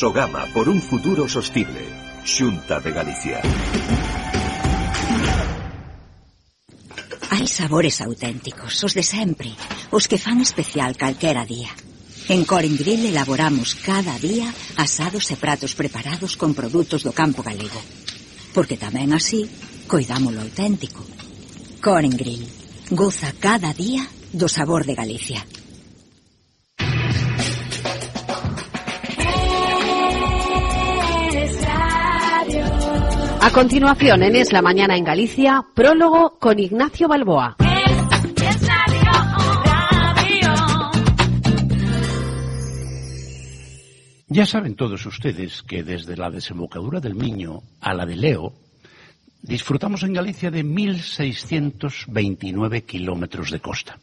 Sogama por un futuro sostible. Xunta de Galicia. Hai sabores auténticos, os de sempre, os que fan especial calquera día. En Coren Grill elaboramos cada día asados e pratos preparados con produtos do campo galego. Porque tamén así, coidamos lo auténtico. Coren Grill, goza cada día do sabor de Galicia. A continuación, en Es la Mañana en Galicia, prólogo con Ignacio Balboa. Ya saben todos ustedes que desde la desembocadura del Miño a la de Leo, disfrutamos en Galicia de 1.629 kilómetros de costa,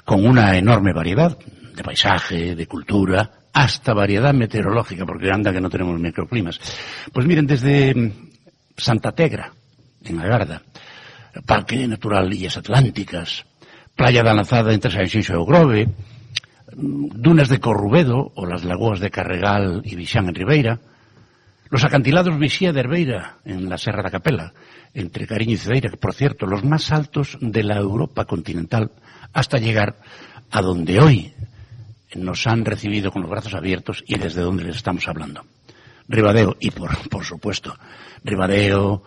con una enorme variedad de paisaje, de cultura, hasta variedad meteorológica, porque anda que no tenemos microclimas. Pues miren, desde Santa Tegra, en Agarda, Parque Natural Illas Atlánticas, Playa da Lanzada entre Sanxenxo e o Grove, dunas de Corrubedo o las lagoas de Carregal y Vixán en Ribeira, los acantilados Vixía de Herbeira en la Serra da Capela, entre Cariño y Cedeira, que por cierto, los más altos de la Europa continental, hasta llegar a donde hoy nos han recibido con los brazos abiertos y desde donde les estamos hablando. Ribadeo y, por supuesto, Ribadeo,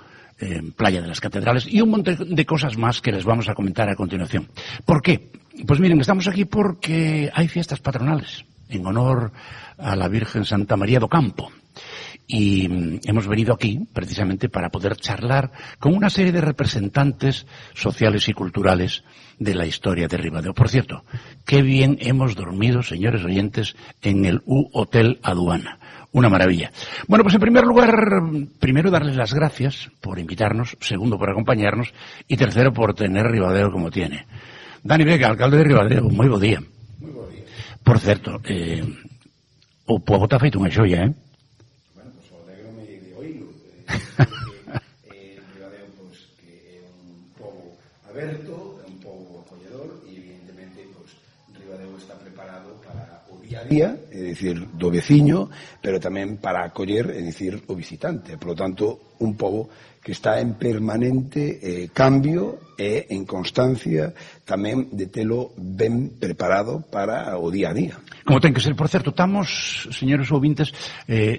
Playa de las Catedrales y un montón de cosas más que les vamos a comentar a continuación. ¿Por qué? Pues miren, estamos aquí porque hay fiestas patronales en honor a la Virgen Santa María do Campo. Y hemos venido aquí precisamente para poder charlar con una serie de representantes sociales y culturales de la historia de Ribadeo. Por cierto, qué bien hemos dormido, señores oyentes, en el U-Hotel Aduana. Una maravilla. Bueno, pues en primer lugar, primero darles las gracias por invitarnos, segundo por acompañarnos y tercero por tener Ribadeo como tiene. Dani Vega, alcalde de Ribadeo, moi bo día. Moi bo día. Por certo, o pobo está feito unha xoia, Bueno, pois o alegrome de oílo. Ribadeo, pois, que é un pobo aberto, é un pobo acolledor e evidentemente, pois, Ribadeo está preparado para o día a día, é dicir, do veciño, pero tamén para acoller, é dicir, o visitante. Por lo tanto, un pobo que está en permanente cambio e en constancia tamén de telo ben preparado para o día a día. Como ten que ser, por certo, estamos, señores ouvintes,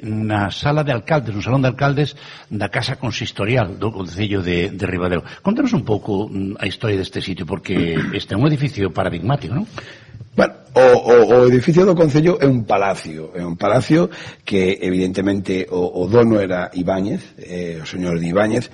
na sala de alcaldes, no salón de alcaldes da Casa Consistorial do Concello de Ribadeo. Contanos un pouco a historia deste sitio, porque este é un edificio paradigmático, non? Bueno, o edificio do Concello é un palacio que evidentemente o dono era Ibáñez, o señor de Ibáñez,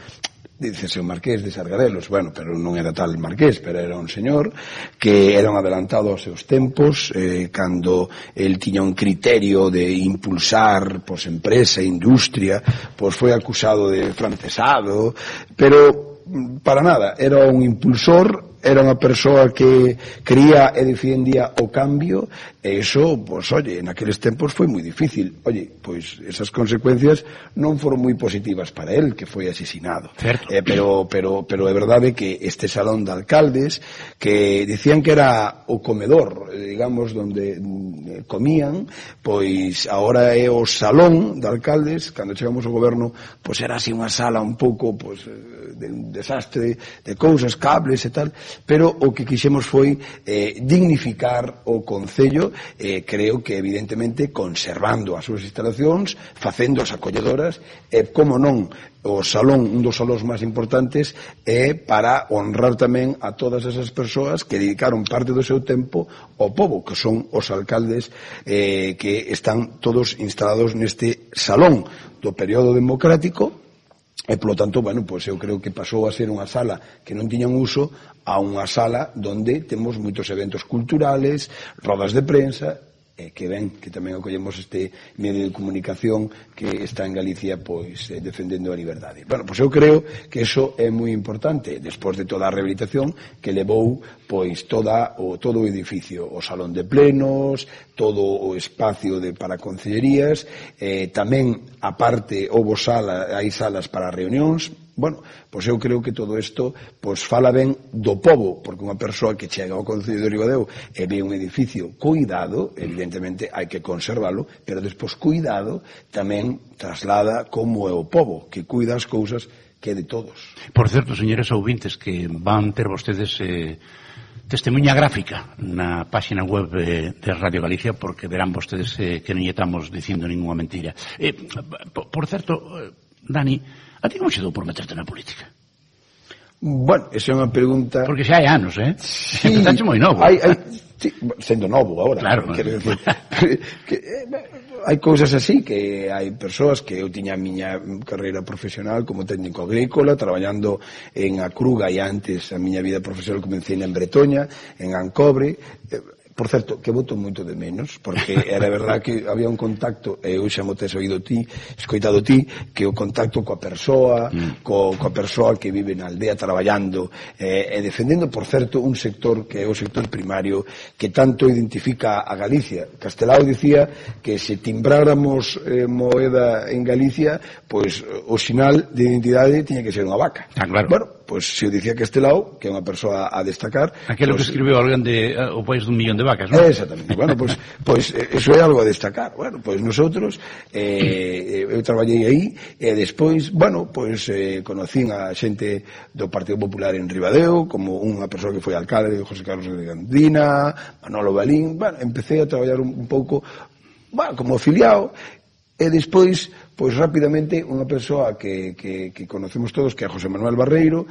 dícese o marqués de Sargadelos, bueno, pero non era tal marqués, pero era un señor que era un adelantado aos seus tempos, cando el tiña un criterio de impulsar pois empresa, industria, pois foi acusado de francesado, pero para nada, era un impulsor, era unha persoa que quería e defendía o cambio, e iso, pois, oye, naqueles tempos foi moi difícil. Oye, pois, esas consecuencias non foron moi positivas para él, que foi asesinado. Pero é verdade que este salón de alcaldes, que dicían que era o comedor, digamos, donde comían, pois, agora é o salón de alcaldes, cando chegamos ao goberno, pois, era así unha sala un pouco, pois, de un desastre de cousas, cables e tal, pero o que quixemos foi dignificar o Concello, creo que evidentemente conservando as súas instalacións, facendo as acolledoras, e como non, o salón, un dos salóns máis importantes, é para honrar tamén a todas esas persoas que dedicaron parte do seu tempo ao pobo, que son os alcaldes que están todos instalados neste salón do período democrático. E, polo tanto, bueno, pois eu creo que pasou a ser unha sala que non tiña un uso a unha sala donde temos moitos eventos culturales, rodas de prensa, que ven que tamén acollemos este medio de comunicación que está en Galicia pois defendendo a liberdade. Bueno, pois eu creo que eso é moi importante despois de toda a rehabilitación que levou pois todo o edificio, o salón de plenos, todo o espacio para concellerías, tamén aparte hai salas para reunións, Bueno, pois eu creo que todo isto pois fala ben do pobo, porque unha persoa que chega ao Concello de Ribadeo e ve un edificio cuidado, evidentemente hai que conservalo, pero despois cuidado tamén traslada como é o pobo, que cuida as cousas que é de todos. Por certo, señores ouvintes, que van ter vostedes testemunha gráfica na páxina web de Radio Galicia, porque verán vostedes que non estamos dicindo ninguna mentira. Por certo, Dani, a ti como xe dou por meterte na política? Bueno, esa é unha pregunta... Porque xa hai anos, Sí, empezaste moi novo. Sí, sendo novo agora. Claro. Quero decir, hai cousas así, que hai persoas que eu tiña a miña carreira profesional como técnico agrícola, traballando en Acruga, e antes a miña vida profesional comecei en Bretoña, en Ancobre. Por certo, que voto moito de menos, porque era verdad que había un contacto, e eu xa mo tes oído ti, escoitado ti, que o contacto coa persoa, coa persoa que vive na aldea traballando e defendendo, por certo, un sector que é o sector primario, que tanto identifica a Galicia. Castelao dicía que se timbráramos moeda en Galicia, pois o sinal de identidade tiña que ser unha vaca. Claro. Bueno, pois se o dicía Castelao, que é unha persoa a destacar... Aquilo que escribiu alguén de O País dun Millón de Vacas, non? Exactamente. Bueno, pois eso é algo a destacar. Bueno, pois nosotros eu traballei aí e despois, bueno, pois conocín a xente do Partido Popular en Ribadeo, como unha persoa que foi alcalde de José Carlos de Gandina, Manolo Balín. Bueno, empecé a traballar un pouco, bueno, como afiliado. E despois, pois rapidamente, unha persoa que conocemos todos, que é José Manuel Barreiro,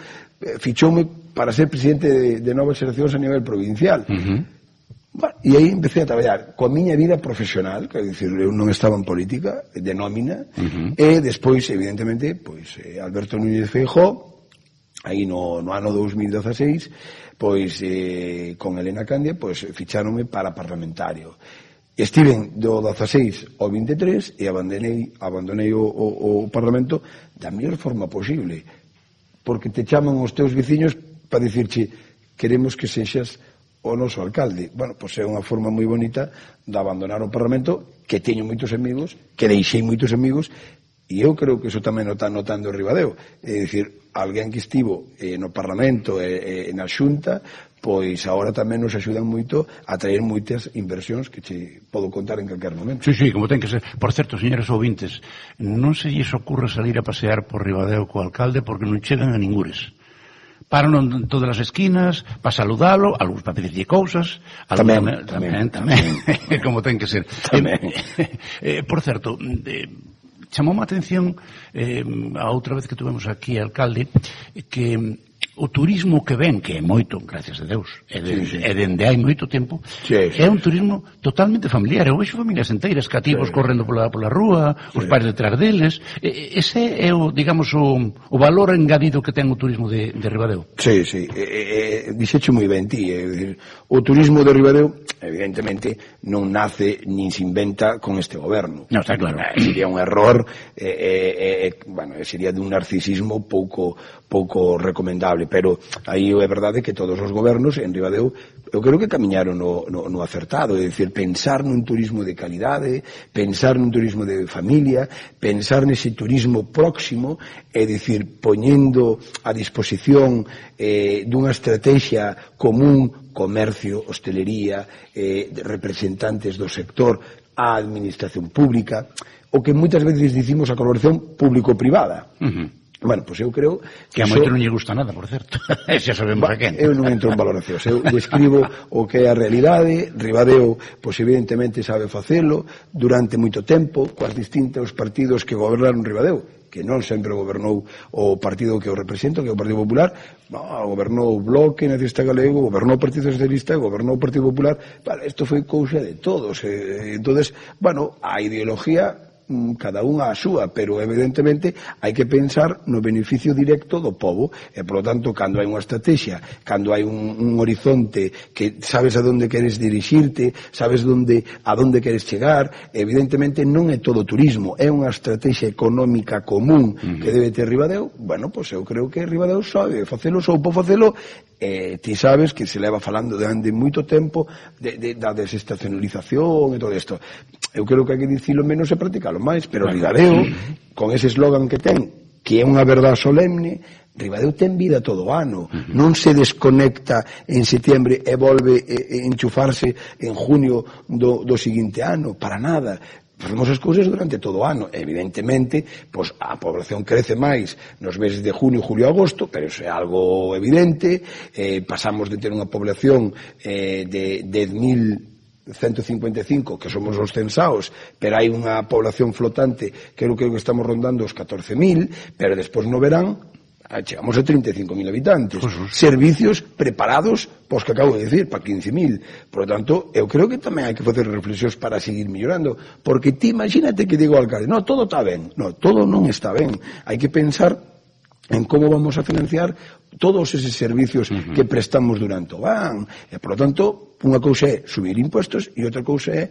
fichoume para ser presidente de Novas Xeracións a nivel provincial. Bueno, e aí empecé a traballar coa miña vida profesional, que é dicir, eu non estaba en política, de nómina, e despois, evidentemente, pois Alberto Núñez Feijóo, aí no ano 2016, pois con Elena Candia, pois ficháronme para parlamentario. Estiven do 16 ao 23 e abandonei o Parlamento da mellor forma posible, porque te chaman os teus veciños para dicirche queremos que sexas o noso alcalde. Bueno, pois é unha forma moi bonita de abandonar o Parlamento, que teño moitos amigos, que deixei moitos amigos, e eu creo que iso tamén o está notando en Ribadeo. É dicir, alguén que estivo no Parlamento e na Xunta, pois agora tamén nos axudan moito a traer moitas inversións que che podo contar en calquer momento. Sí, como ten que ser. Por certo, señores ouvintes, non se lles ocurre salir a pasear por Ribadeo co alcalde porque non chegan a ningures. Paran en todas as esquinas para saludalo, algúns para pedirlle cousas, tamén. Como ten que ser. Por certo, chamou a atención a outra vez que tuvemos aquí alcalde que o turismo que ven, que é moito, gracias a Deus, e dende hai moito tempo, é un turismo totalmente familiar. Eu vexo familias enteiras, cativos correndo pola rúa, os pais detrás deles. Ese é o, digamos, o valor engadido que ten o turismo de Ribadeo. Sí. Dixeche moi ben ti. O turismo de Ribadeo, evidentemente, non nace nin se inventa con este goberno. Non, está claro. Sería un error, bueno, sería dun narcisismo pouco recomendable, pero aí é verdade que todos os gobernos en Ribadeo eu creo que camiñaron no acertado, é dicir, pensar nun turismo de calidade, pensar nun turismo de familia, pensar nese turismo próximo, é dicir, poñendo a disposición dunha estrategia común, comercio, hostelería, representantes do sector, a administración pública, o que moitas veces dicimos a colaboración público-privada. Bueno, pois eu creo que a moito non lle gusta nada, por certo. Xa sabemos a quen. Eu non entro en valoracións, eu describo o que é a realidade. Ribadeo, pois evidentemente sabe facelo durante moito tempo, coas distintos partidos que gobernaron Ribadeo, que non sempre gobernou o partido que eu represento, que é o Partido Popular, gobernou o Bloque Nacionalista Galego, gobernou o Partido Socialista, gobernou o Partido Popular. Vale, isto foi cousa de todos. Entonces, bueno, a ideología cada unha a súa, pero evidentemente hai que pensar no beneficio directo do pobo, e polo tanto, cando hai unha estrategia, cando hai un horizonte que sabes a donde queres dirixirte, sabes a donde queres chegar, evidentemente non é todo turismo, é unha estrategia económica común que debe ter Ribadeo. Bueno, pois eu creo que Ribadeo sabe facelo, soupo facelo. Ti sabes que se leva falando de moito tempo da desestacionalización e todo isto. Eu creo que hai que dicilo menos e practicalo máis, pero Ribadeo, con ese eslogan que ten, que é unha verdade solemne, Ribadeo ten vida todo o ano, non se desconecta en setembro e volve enchufarse en junio do seguinte ano, para nada. Facemos as cousas durante todo o ano. Evidentemente, pois a población crece máis nos meses de junio, julio e agosto, pero iso é algo evidente. Pasamos de ter unha población de 10.155, que somos os censaos, pero hai unha población flotante que creo que estamos rondando os 14.000, pero despois no verán chegamos a 35.000 habitantes. Servicios preparados, pois que acabo de decir, para 15.000. Por lo tanto, eu creo que tamén hai que facer reflexións para seguir mellorando, porque ti imagínate que digo ao alcalde, no, todo está ben. No, todo non está ben. Hai que pensar en como vamos a financiar todos eses servicios que prestamos durante o ano. E, por lo tanto, unha cousa é subir impuestos e outra cousa é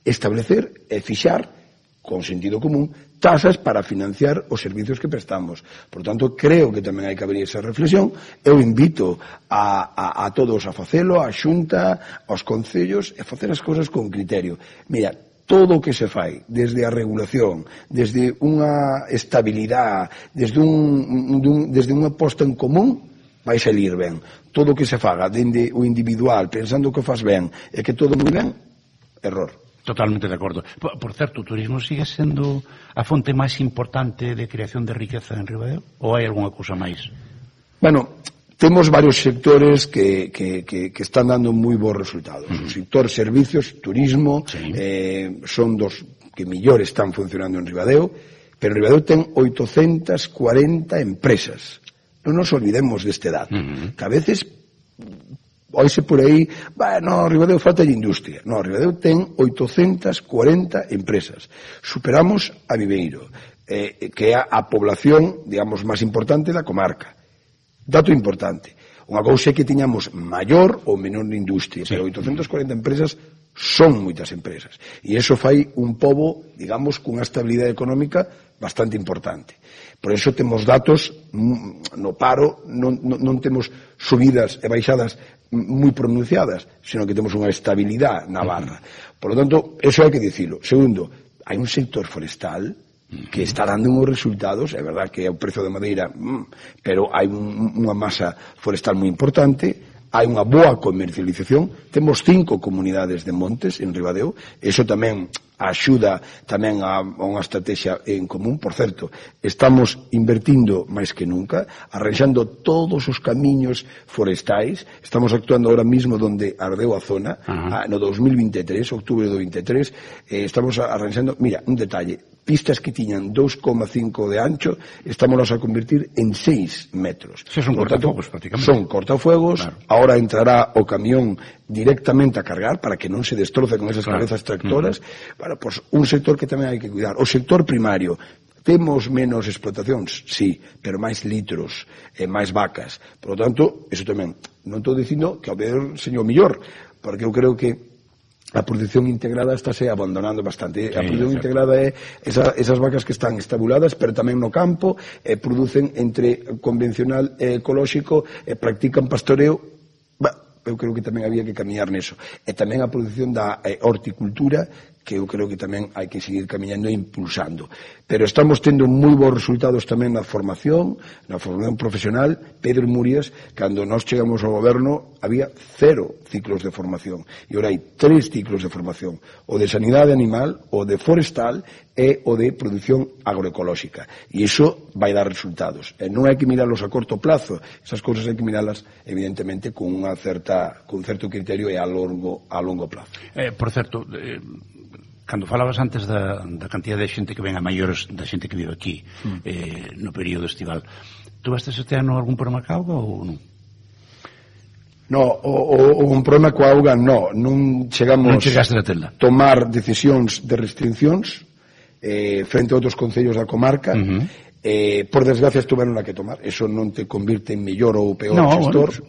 establecer e fixar con sentido común, tasas para financiar os servicios que prestamos. Por tanto, creo que tamén hai que abrir esa reflexión. Eu invito a todos a facelo, a Xunta, aos concellos, e facer as cousas con criterio. Mira, todo o que se fai, desde a regulación, desde unha estabilidade, desde unha posta en común, vai salir ben. Todo o que se faga, dende o individual, pensando que faz ben, e que todo moi ben, error. Totalmente de acordo. Por certo, o turismo sigue sendo a fonte máis importante de creación de riqueza en Ribadeo? Ou hai algunha cousa máis? Bueno, temos varios sectores que están dando moi bons resultados. O sector servicios, turismo, son dos que mellor están funcionando en Ribadeo, pero Ribadeo ten 840 empresas. Non nos olvidemos deste dato. Que a veces oise por aí, no, Ribadeo falta de industria. No, Ribadeo ten 840 empresas. Superamos a Viveiro, que é a población, digamos, máis importante da comarca. Dato importante. Unha cousa é que tiñamos maior ou menor industria, pero 840 empresas son moitas empresas. E iso fai un pobo, digamos, cunha estabilidade económica bastante importante. Por iso temos datos no paro, non temos subidas e baixadas moi pronunciadas, sino que temos unha estabilidade na barra. Por lo tanto, eso hai que dicilo. Segundo, hai un sector forestal que está dando uns resultados, é verdad que é o prezo da madeira, pero hai unha masa forestal moi importante, hai unha boa comercialización, temos 5 comunidades de montes en Ribadeo, eso tamén axuda tamén a unha estrategia en común. Por certo, estamos invertindo máis que nunca, arranxando todos os camiños forestais, estamos actuando ahora mismo donde ardeu a zona, no 2023, outubro do 23, estamos arranxando, mira, un detalle, pistas que tiñan 2,5 de ancho, estámoslas a convertir en 6 metros. Son cortafuegos, prácticamente. Son cortafuegos, claro. Ahora entrará o camión directamente a cargar para que non se destroce con esas cabezas tractoras. Bueno, pues un sector que tamén hai que cuidar. O sector primario, temos menos explotacións, sí, pero máis litros, máis vacas. Por lo tanto, eso tamén, non estou dicindo que ao ver señor millor, porque eu creo que a produción integrada estáse abandonando bastante. A produción integrada é esas vacas que están estabuladas, pero tamén no campo, producen entre convencional e ecolóxico, practican pastoreo. Eu creo que tamén había que camiñar neso. E tamén a produción da horticultura, que eu creo que tamén hai que seguir camiñando e impulsando. Pero estamos tendo moi bons resultados tamén na formación profesional. Pedro Murias, cando nós chegamos ao goberno, había 0 ciclos de formación. E ora hai 3 ciclos de formación. O de sanidade animal, o de forestal e o de produción agroecolóxica. E iso vai dar resultados. E non hai que mirarlos a corto plazo. Esas cousas hai que mirarlas, evidentemente, con un certo criterio e a longo plazo. Por certo, cando falabas antes da cantidad de xente que ven a maiores da xente que vive aquí no período estival, tú vastes este ano algún problema ca auga ou non? No, un problema coa auga non chegamos a tomar decisións de restriccións frente a outros concellos da comarca. Por desgracia estuveron a que tomar, eso non te convirte en mellor ou peor gestor,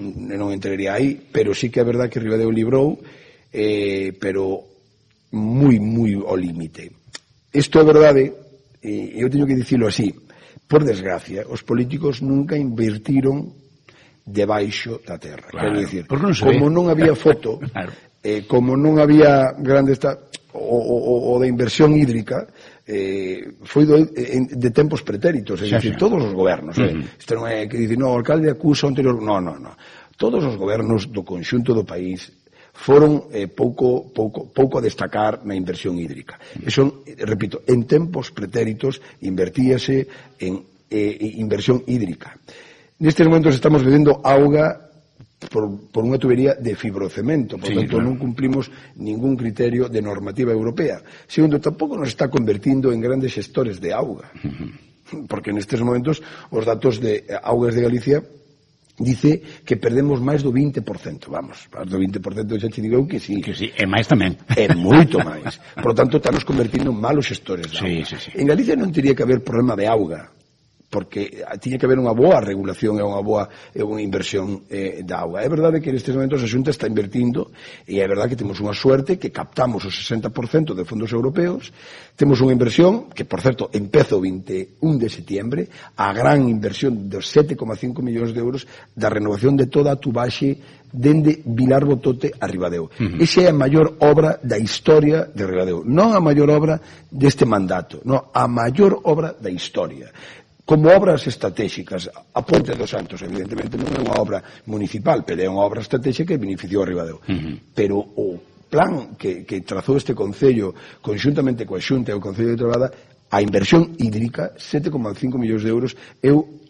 non entraría aí, pero sí que é verdad que Ribadeo librou, pero moi ao límite. Isto é verdade, e eu teño que dicilo así, por desgracia, os políticos nunca invertiron debaixo da terra. Quero dicir, como non había foto, como non había grande o da inversión hídrica, foi de tempos pretéritos, é dicir, todos os gobernos, isto non é que dicir, o alcalde acusa o anterior, non, todos os gobernos do conxunto do país foron pouco a destacar na inversión hídrica. E son, repito, en tempos pretéritos invertíase en inversión hídrica. Nestes momentos estamos bebendo auga por unha tubería de fibrocemento, por tanto non cumplimos ningún criterio de normativa europea. Segundo, tampouco nos está convertindo en grandes xestores de auga, porque nestes momentos os datos de Augas de Galicia dice que perdemos máis do 20%, vamos, máis do 20% xa te digo que sí. Que sí, e máis tamén. É moito máis. Por lo tanto, estamos convertindo en malos xestores de auga. Sí. En Galicia non teria que haber problema de auga, porque tiña que haber unha boa regulación e unha boa inversión da auga. É verdade que nestes momentos a Xunta está invertindo e é verdade que temos unha suerte que captamos o 60% de fondos europeos, temos unha inversión que, por certo, empeza o 21 de setiembre, a gran inversión de 7,5 millóns de euros da renovación de toda a tubaxe dende Vilar Botote a Ribadeo. Esa é a maior obra da historia de Ribadeo, non a maior obra deste mandato, non, a maior obra da historia. Como obras estratégicas, a Ponte dos Santos, evidentemente, non é unha obra municipal, pero é unha obra estratégica que beneficiou a Ribadeo. Pero o plan que trazou este Concello, conxuntamente coa Xunta e o Concello de Trabada, a inversión hídrica, 7,5 millóns de euros, eu